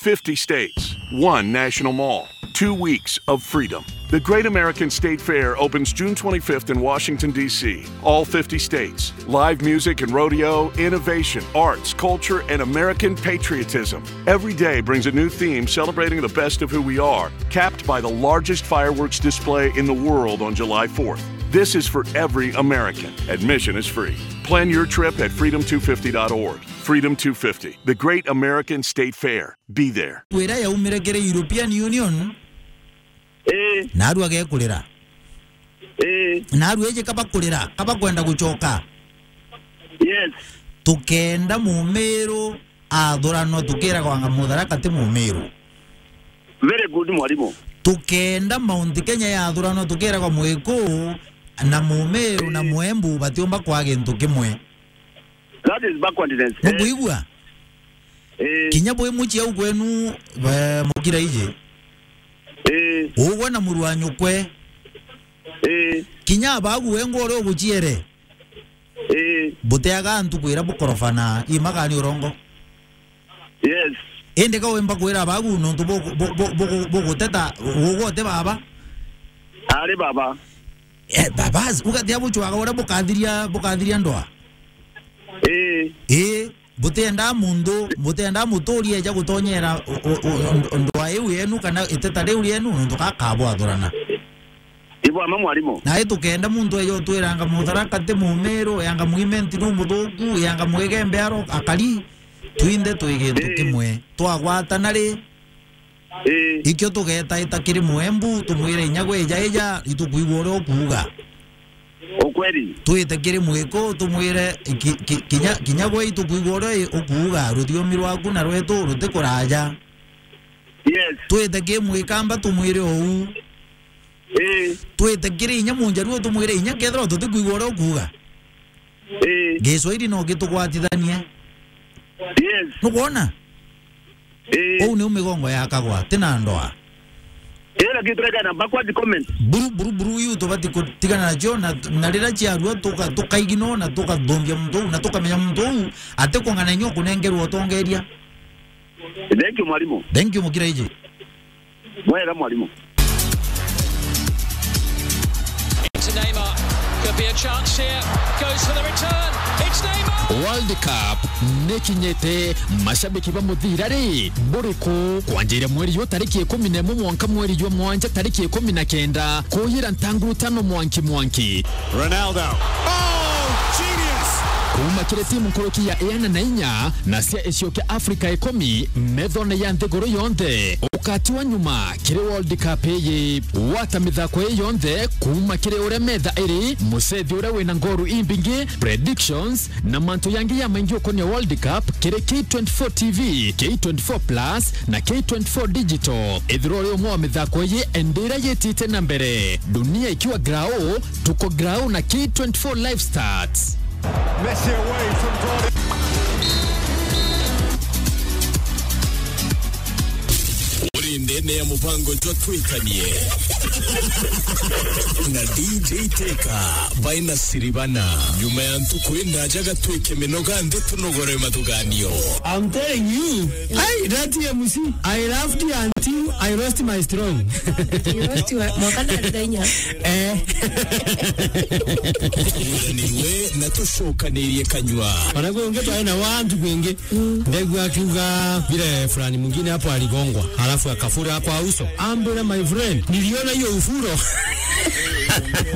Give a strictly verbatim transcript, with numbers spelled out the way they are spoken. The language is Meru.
fifty states, one national mall, two weeks of freedom. The Great American State Fair opens June twenty-fifth in Washington, D C. All fifty states. Live music and rodeo, innovation, arts, culture, and American patriotism. Every day brings a new theme celebrating the best of who we are, capped by the largest fireworks display in the world on July fourth. This is for every American. Admission is free. Plan your trip at freedom two fifty dot org. Freedom two fifty, the Great American State Fair. Be there. Wira yaumire kiri European Union, Ii. Naru agekurira. Ii. Naru eje kaba kurira, kaba kwenda gucoka. Yes. Tukenda Mumiru athuranwa, tukiragwa anga Mutharaka ti Mumiru. Very good, mwalimu. Tukenda Mount Kenya yathuranwa, tukiragwa Mwiku na Mumiru na Muembu batiumba kwa gintu kimwe. That is backwardness. Eh. Mukuigua? Eh. Kinya bwi mucii au kwenu, eh, Mukiraiji. Eh. Ugwe na muru wa nyukwe. Eh. Kinya abagu wengwa uria uguciere. Eh. Buteaga antu kwira bukorofana, imagani urongo. Yes. Indi ka wimba kwira abagu nontu bu-, bu-, bu-, bu-, buguteta, ugwe uti baba? Ari baba. Eh, babas, ugatia bucwaga uria bukathiria, bukathiria ndoa? Ii. Ii, butienda muntu, butienda muturi eja gutonyera u-, u-, u-, ndoa iu yenu kana iteta riu rienu, nontu gakabwathurana. Ibwama mwalimu. Na itukenda muntu eja utwiranga Mutharaka ti Mumiru, yanga Mwimenti nu muthuku, yanga Mwigembe aro akari, twinthe twi gintu Ii. kimwe. Twagwatana ri, Ii. Ikio tugetaita kiri Muembu, tumwire inya gwe ija ija, itukwigua uria ukuuga. Ukweli. Twite kiri Mwiku, tumwire ki-, ki-, kinya, kinya gwe itukwigua uria i-, ukuuga, ruthiomi rwaku na rwetu rutikuraja. Yes. Twite kiri Mwikamba, tumwire uu. Ii. Twite kiri inya Munjaruo, tumwire inya kethirwa tutikwigua uria ukuuga. Ii. Giswahili no gitugwatithanie. Yes. Nukwona? Ii. Uu niu migongo yakagwa, ti na ndoa. Ii, lakini turekana backward comment. Buru, buru, buru iu tubati kutigana nacio, na, na riria ciarua tuka-, tukaigino na tukathumbia muntu uu, na tukamenya muntu uu atikung'ana inya ukunengerwa utongeria. Thank you, mwalimu. Thank you, Mukiraiji. Mwega, mwalimu. To Neymar. Could be a chance here. Goes for the return. It's Neymar. World Cup nikinyite, mashabiki ba muthira ri, buriku? Kwanjira mweri yu tariki ikumi na imwe mwanka mweri jwa mwanja tariki ikumi na kenda, kuyira ntanguru tano mwanki mwanki. Ronaldo. Oh, genius! Kuuma kiri timu nkuruki ya iana na inya na cia icio kia Afrika ikumi, methone ya nthiguru yonthe. Ukati wa nyuma kiri World Cup iyi. Gwata mithako ii yonthe kuuma kiri uria metha iri, mucethi uria wina ngoru imbingi, predictions, na mantu yangi ya maingi ukonia World Cup kiri K twenty-four T V, K twenty-four Plus, na K twenty-four Digital. Ithirwa uri umwe wa mithako iyi, indi iria yitite na mbere. Dunia ikiwa grau, tuko grau na K twenty-four Live Stats. Messi away from goal. Uri ndene ya mubango jwa Twikanie na D J Teka baina Siribana. Nyuma ya ntuku indaja gatwike minoga nthi tunogore mathuganio. I'm telling you, hey, that M C, I laughed until I lost my strong. You lost your, mwaka na ndainya. Eh. Turanirwe na tucokanirie kanyua. Ona kwi ungi twari na wantu kwingi. Ndegua akiuga vile fulani mwingine hapo aligongwa, halafu akafura kwa uso. Ambira, my friend, niliona hiyo ufuro.